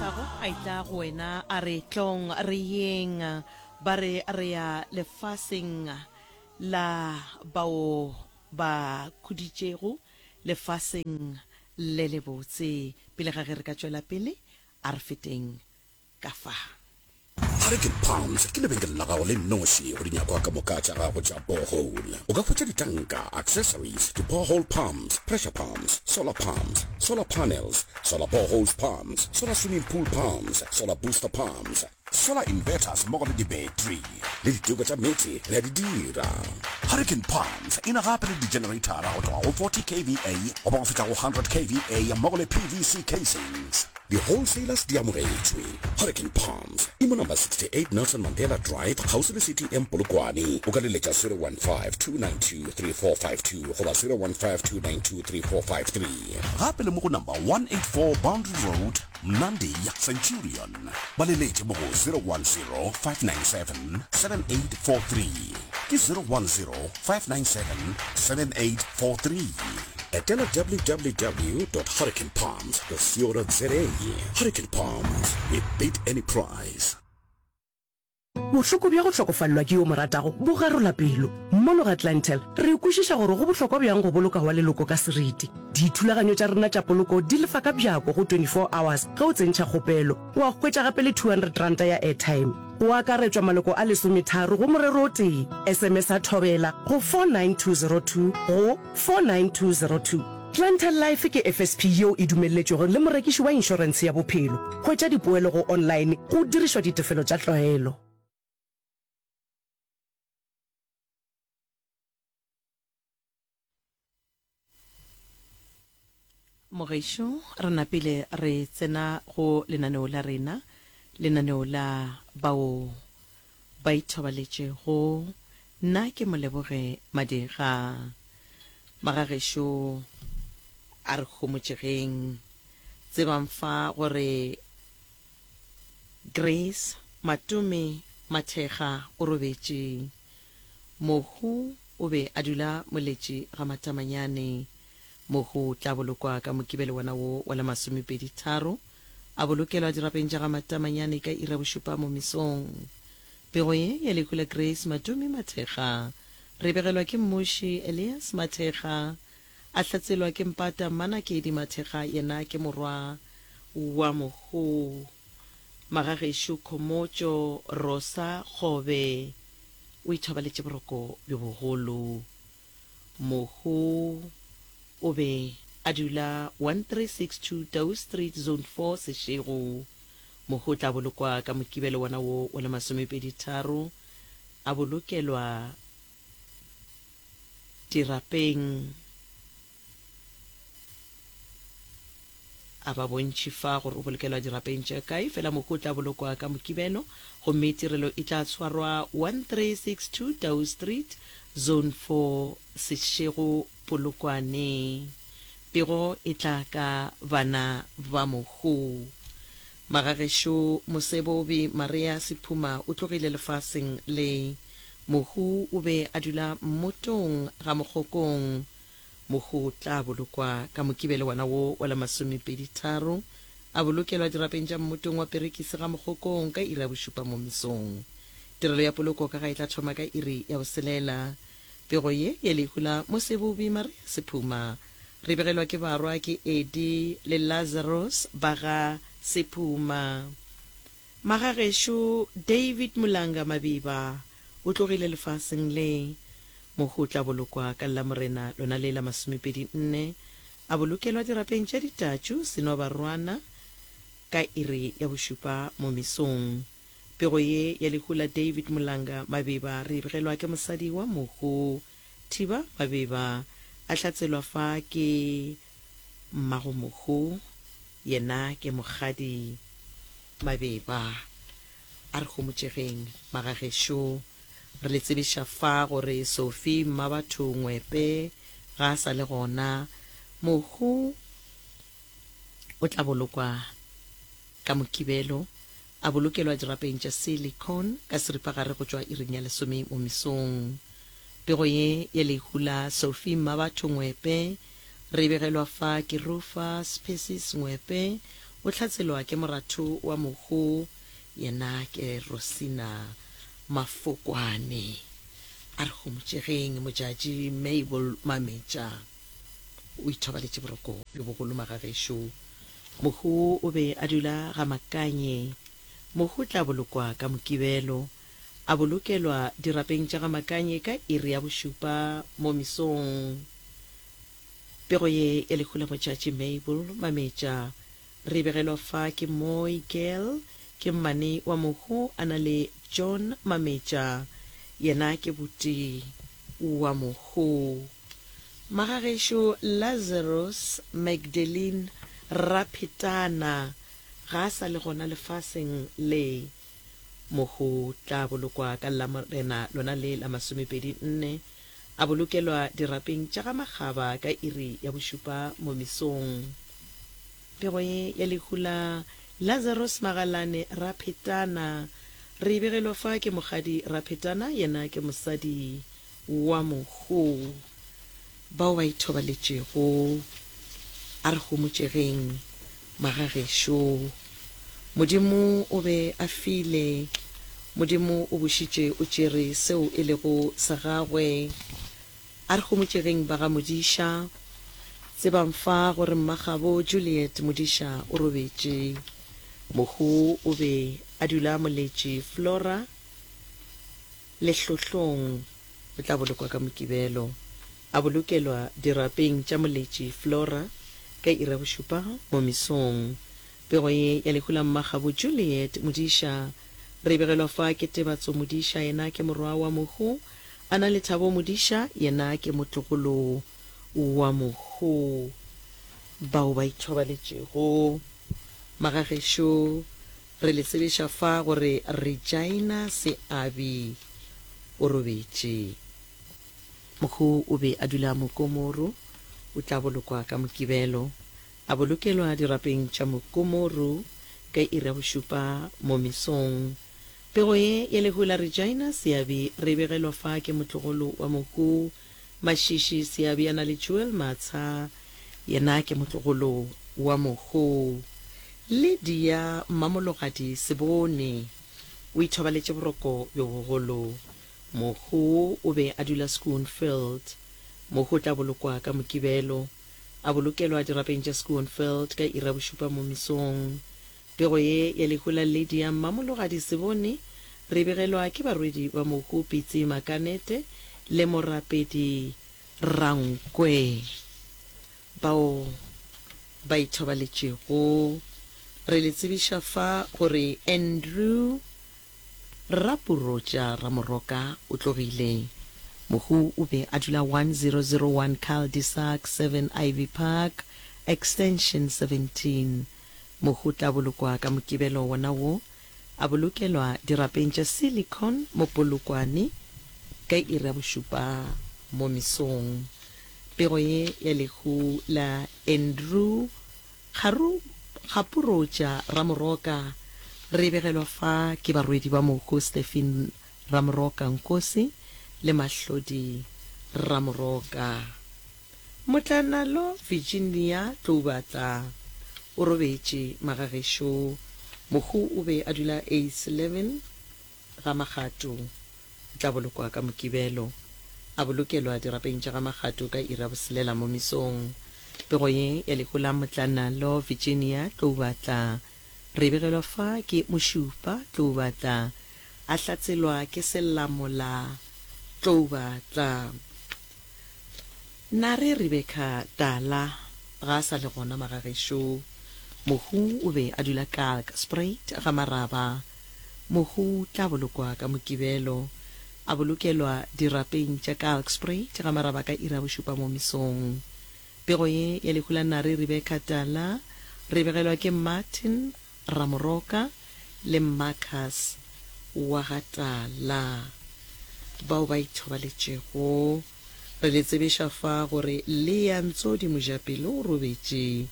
Letago a etla go wena a re tlong re yeng ba re re ya lefaseng la bao ba khuditšego lefaseng le lebotse. Pele ga ge re ka tšwela pele a re feteng ka fa. Hurricane Palms ke lebenkele la gago le nnoši go dinyakwa ka moka tša gago tša borehole. O ka hwetša ditanka, accessories, di-borehole pumps, pressure pumps, solar pumps, solar panels, solar boreholes pumps, solar swimming pool pumps, solar booster pumps, solar inverters mmogo le di-battery. Le diteko tša meetse re a di dira. Hurricane Palms e na gape le di-generator-a go tloga go 40 kVA goba go fihla go 100 kVA mmogo le PVC casings. Di-wholesalers di amogetšwe. Hurricane Palms e mo number 68 Nelson Mandela Drive kgauswi le CTM Polokwane. O ka leletša 015-292-3452 goba 015-292-3453. Gape le mo go number 184 Boundary Road, Mnandi, Centurion. Ba leletše mo go 010-597-7843. Ke 010-597-7843. Etela www.hurricanepalms.co.za. Hurricane Palms, we beat any price. Bohloko bja go hlokofalelwa ke yo o mo ratago bo garola pelo. Mono ga Clientele, re kwešiša gore go bohlokwa bjang go boloka wa leloko ka seriti. Dithulaganyo tša rena tša poloko di lefa ka bjako go 24 hours ge o tsentšha kgopelo. Wa hwetša gape le R200 ya airtime. Go akaretšwa maloko a lesometharo go morero o tee. SMS-a Thobela go 49202 go 49202. Clientele Life ke FSP yeo e dumelletšwego le morekiši wa inšorentshe ya bophelo. Hwetša dipoelo go online go dirišwa ditefelo tša tlwaelo. Mogešo, re napile re tsena go lenaneo la rena, lenaneo la bao ba ithobaletšego. Nna ke Moleboge Madira. Magagešo, a re homotšegeng. Tsebang fa gore Grace Matome Mathekga o robetše. Mohu o be a dula Moletši ga Matamanyane. Mohu o tla bolokwa ka Mokibelo wona wo wa la masomepedi tharo, a bolokelwa dirapeng tša ga Matamanyane ka iri ya bošupa mo mesong. Pego ye ya lehu la Grace Matome Mathekga re e begelwa ke Mmuši Elias Mathekga, a hlatselwa ke Mpata Mmanakedi Mathekga yena ke morwa wa mohu. Magagešo Khomotšo Rosa Kgobe o ithobaletše boroko bjo bogolo. Mohu o be a dula 1362 Tau Street, Zone 4, Seshego. Mohu o tla bolokwa ka Mokibelo wona wo wa la masomepeditharo, a bolokelwa dirapeng. A ba bontšhi fa gore o bolokelwa dirapeng tša kae, fela mohu o tla bolokwa ka Mokibelo gomme tirelo e tla tshwarwa 1362 Tau Street, Zone 4, Seshego, Polokwane. Pego e tla ka bana ba mohu. Magagešo Mosebobi Maria Sephuma o tlogile lefaseng le. Mohu o be a dula mmotong ga Mokgokong. Mohu o tla bolokwa ka Mokibelo wona wo wa la masomepeditharo, a bolokelwa dirapeng tša mmotong wa Perekisi ga Mokgokong ka iri ya bošupa mo mesong. Tirelo ya poloko ka ga e tla thoma ka iri ya boselela. Pego ye ya lehu la Mosebobi Maria Sephuma re begelwa ke barwa ke Eddie le Lazarus ba ga Sephuma. Magagešo David Mulanga Mabiba o tlogile lefaseng le. Mohu o tla bolokwa ka Lamorena lona le la masomepedi nne, a bolokelwa dirapeng tša Ditatšu Senobarwana ka iri ya bošupa mo mesong. Pego ye ya lehu la David Mulanga Mabeba re e begelwa ke mosadi wa mohu Thiba Mabeba, a hlatselwa fa ke mmago mohu, yena ke Mokgadi Mabeba. A re homotšegeng, magagešo. Re le tsebiša fa gore Sophie Mmabatho Ngwepe ga a sa le gona. Mohu o tla bolokwa ka Mokibelo, a bolokelwa dirapeng tša Silicon ka seripagare go tšwa iring ya lesome mo mesong. Pego ye ya lehu la Sophie Mmabatho Ngwepe re e begelwa fa ke Rufus Persis Ngwepe. O hlatselwa ke moratho wa mohu, yena ke Rosina Mafokwane. A re homotšegeng, Modjadji Mabel Mametja o ithobaletše boroko bjo bogolo magagešo. Mohu o be a dula ga Makanye. Mohu o tla bolokwa ka Mokibelo, a bolokelwa dirapeng tša ga Makanye ka iri ya bošupa mo mesong. Pego ye ya lehu la Modjadji Mabel Mametja re e begelwa fa ke Mooi Girl, ke mmane wa mohu a na le John Mametja, yena ke buti wa mohu. Magagešo Lazarus Magdalene Raphetana ga a sa le gona lefaseng le. Mohu tla bolokwa ka Lamorena lona le la masomepedi nne, a bolokelwa dirapeng tša ga Makgaba ka iri ya bošupa mo mesong. Pego ye ya lehu la Lazarus Magalane Raphetana re e begelwa fa ke Mokgadi Raphetana, yena ke mosadi wa mohu. Bao ba ithobaletšego, a re homotšegeng, magagešo. Modimo o be a file, Modimo o bušitše o tšere seo e lego sa gagwe. A re homotšegeng ba ga Modiša. Tsebang fa gore mmagabo Juliet Modiša o robetše. Mohu o be a dula Moletši Flora Lehlohlong. O tla bolokwa ka Mokibelo. A bolokelwa dirapeng tša Moletši Flora ka iri ya bošupa mo mesong. Pego ye ya lehu la mmagabo Juliet Modiša re e begelwa fa ke Tebatso Modiša, yena ke morwa wa mohu, a na le Thabo Modiša, yena ke motlogolo wa mohu. Bao ba ithobaletšego magagešo re le tsebiša fa gore Regina Seabi o robetše. Mohu o be a dula Mokomoro, o tla bolokwa ka Mokibelo. A bolokelwa dirapeng tša Mokomoro ka iri ya bošupa mo mesong. Pego ye ya lehu la Regina Seabi re e begelwa fa ke motlogolo wa mohu Mashishi Seabi a na le Joel Matsha, yena ke motlogolo wa mohu Lydia Mmamologadi Sebone. O ithobaletše boroko bjo bogolo. Mohu o be a dula Schoonfield. Mohu o tla bolokwa ka Mokibelo. A bolokelwa dirapeng tša Schoonfeld ka iri ya bošupa mo mesong. Pego ye ya lehu la Lydia Mmamologadi Sebone re e begelwa ke barwedi ba mohu Pitsi Makanete le Morapedi Rankwe bao ba ithobaletšego. Re le tsebiša fa gore Andrew Rapurotša Ramoroka o tlogile. Mohu o be a dula 1001 Cul-de-sac 7 Ivy Park, Extension 17. Mohu o tla bolokwa ka Mokibelo wona wo, a bolokelwa dirapeng tša Silicon mo Polokwane ka iri ya bošupa mo mesong. Pego ye ya lehu la Andrew Kgaru, Kgapurotša Ramoroka re e begelwa fa ke barwedi ba mohu Stephen Ramoroka Nkosi le Mahlodi Ramoroka. Motlanalo Virginia Tloubatla o robetše magagešo. Mohu o be a dula Ace 11 Ga Magato. O tla bolokwa ka Mokibelo. A bolokelwa dirapeng tša ga Magato ka iri ya boselela mo mesong. Pego ye ya lehu la Motlanalo Virginia Tloubatla re e begelwa fa ke Mošupa Tloubatla a hlatselwa ke Selamola Tloubatla. Nare Rebecca Tala ga a sa le gona magagešo. Mohu o be a dula Kalkspruit ga Maraba. Mohu tla bolokwa ka Mokibelo. A bolokelwa dirapeng tša Kalkspruit ga Maraba ka iri ya bošupa mo mesong. Pego ye ya lehu la Nare Rebecca Tala re e begelwa ke Martin Ramoroka le Marcus wa ga Tala bao ba ithobaletšego. Re le tsebiša fa gore Leah Ntsodi Mojapelo o robetše.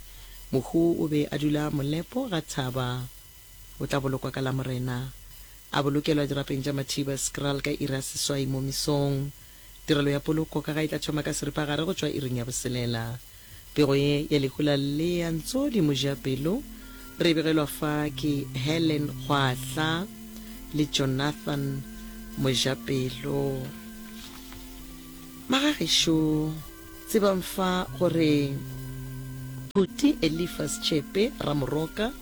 Mohu o be a dula Molepo ga Thaba. O tla bolokwa ka Lamorena. A bolokelwa dirapeng tša Mathiba Skraal ka iri ya seswai mo mesong. Tirelo ya poloko ka ga e tla thoma ka seripagare go tšwa iring ya boselela. Pego ye ya lehu la Leah Ntsodi Mojapelo Re begelwa fa ke Helen Kgwahla le Jonathan Mojapelo. Magagešo, tsebang fa gore Phuti Elifas Tšhepe Ramoroka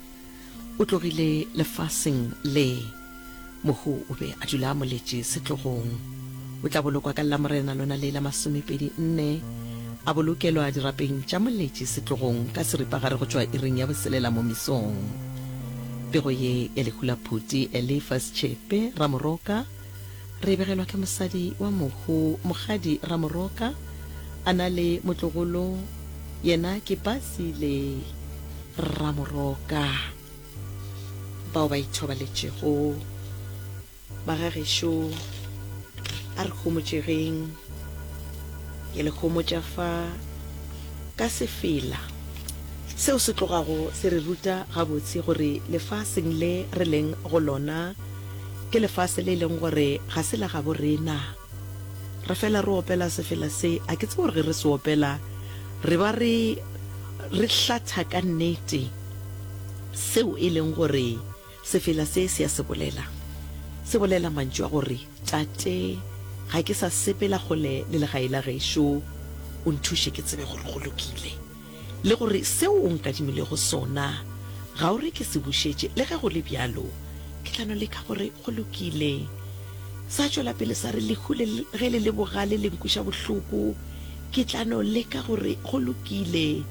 o tlogile lefaseng le. Mohu o be a dula a moletše setlogong. O tla bolokwa ka Lamorena lona le la masomepedi nne, a bolokelwa dirapeng tša moletše setlogong ka seripagare go tšwa iring ya boselela mo mesong. Pego ye ya lehu la Phuti Elifas Tšhepe Ramoroka re e begelwa ke mosadi wa mohu Mokgadi Ramoroka a na le motlogolo yena ke Basile Ramoroka. Bao ba ithobaletšego, Magagešo, a re homotšegeng. Ke le homotša fa ka sefela seo se tlogago se re ruta gabotse gore lefaseng le re leng go lona ke lefase le e leng gore ga se la gabo rena. Re fela re opela sefela se, a ke tsebe gore ge re se opela re ba re re hlatha ka nnete seo e leng gore sefela se se a se bolela. Se bolela mantšu a gore, Tate, ga ke sa sepela kgole le legae la gešo, o nthuše ke tsebe gore go lokile. Le gore seo o nkadimilego sona ga o re ke se bušetše, le ge go le bjalo, ke tla no leka gore go lokile. Sa tšwela pele sa re, Lehu le ge le le bogale le nkweša bohloko, ke tla no leka gore go lokile.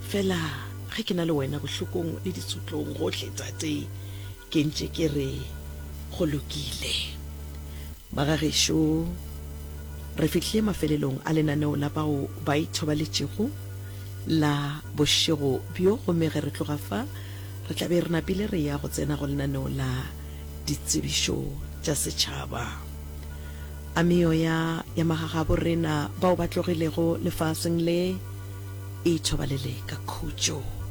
Fela ge ke na le wena bohlokong le ditsotlong gohle, Tate, ke ntše ke re go lokile. Magagešo, re fihlile mafelelong a lenaneo la bao ba ithobaletšego la bošego bjo, gomme ge re tloga fa re tla be re napile re ya go tsena go lenaneo la ditsebišo tša setšhaba. A meoya ya magagabo rena bao ba tlogilego lefaseng le e ithobalele ka khutšo.